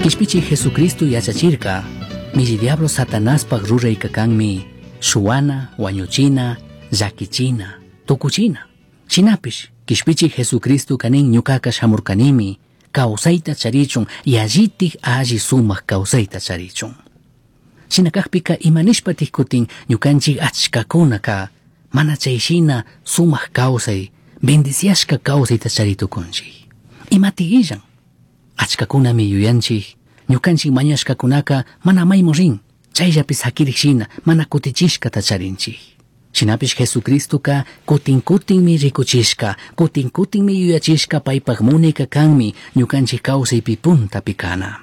Kishpichi Jesucristo yachachirka, milli diablo Satanaspaj rurayka kanmi, shuwana, wañuchina, llakichina, tukuchina. Shinapish, kishpichi Jesucristo kanin ñukaka shamurkanimi, kawsayta charichun, yallitik alli sumak kawsayta charichun. Shina kakpika imanishpatik kutin ñukanchik achkakunaka mana chay shina sumak kawsay, bendiciashka kawsayta charitukunchik. Imatik illan? Achkakunami yuyanchik, ñukanchik mañashkakunaka mana maymu rin, chayllapi sakirik shina mana kutichishkata charinchik. Shinapish Jesucristoka kutin kutinmi rikuchishka, kutin kutinmi yuyachishka paypak munika kanmi ñukanchik kawsaypi puntapi kana.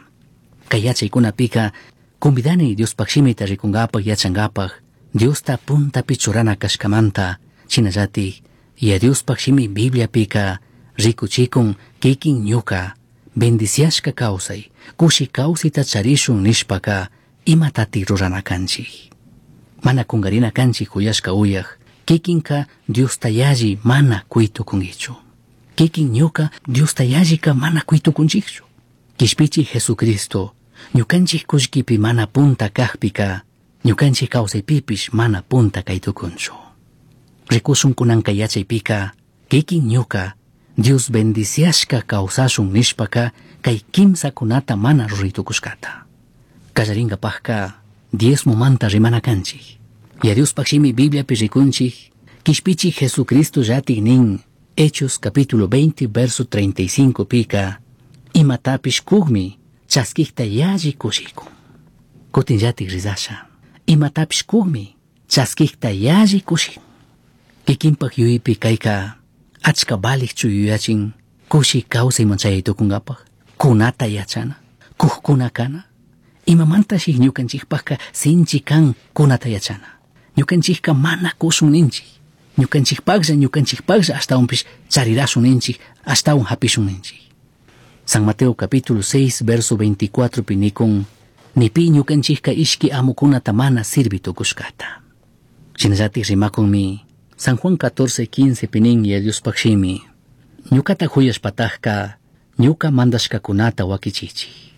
Kay yachaykunapika convidani Diospaj shimita rikunkapak yachankapak, Diosta puntapi churana kashkamanta, shinallatik ya Diospaj shimi Bibliapika rikuchikun kikin ñuka bendiciashka kawsay, kushi kawsayta charishun nishpaka imatatik rurana kanchik. Mana kungarina kanchik kuyashka uyaj, kikinka Diosta yalli mana kuytukunkichu. Kikin ñuka Diosta yallika mana kuytukunchikchu. Kishpichi Jesucristo, ñukanchik kullkipi mana punta kakpika, ñukanchik kawsaypipish mana punta kaytukunchu. Rikushun kunanka yachaypika, kikin ñuka Dios bendiciashka kawsashun nishpaka kay kimsakunata mana ruraytukushkata. Kallarinkapajka diezmomanta rimana kanchik. Ya Diospaj shimi Bibliapi rikunchik, kishpichi Jesucristo llatik nin, Hechos capítulo 20 verso 35 pika, imatapish kukmi chaskikta yalli kushikun. Kutin llatik rizasha, imatapish kukmi chaskikta yalli kushikun. Kikinpak yuyaypi kayka achka valikchu yuyachin kushi kawsayman chayaytukunkapaj, kunata yachana, kukkuna kana. Imamantashi ñukanchikpajka sinchi kan kunata yachana. Ñukanchikka mana kushun ninchik. Ñukanchikpaklla ñukanchikpaklla ashtawanpish charirashun ninchik, ashtawan hapishun ninchik. San Mateo capítulo 6 verso 24 pi nikun, nipi ñukanchikka ishki amukunata mana sirvi tukushkata. Shinallatik rimakunmi San Juan 14, 15 pinin ya Diospaj shimi, ñukata huyashpatajka ñuka mandashkakunata wakichichik.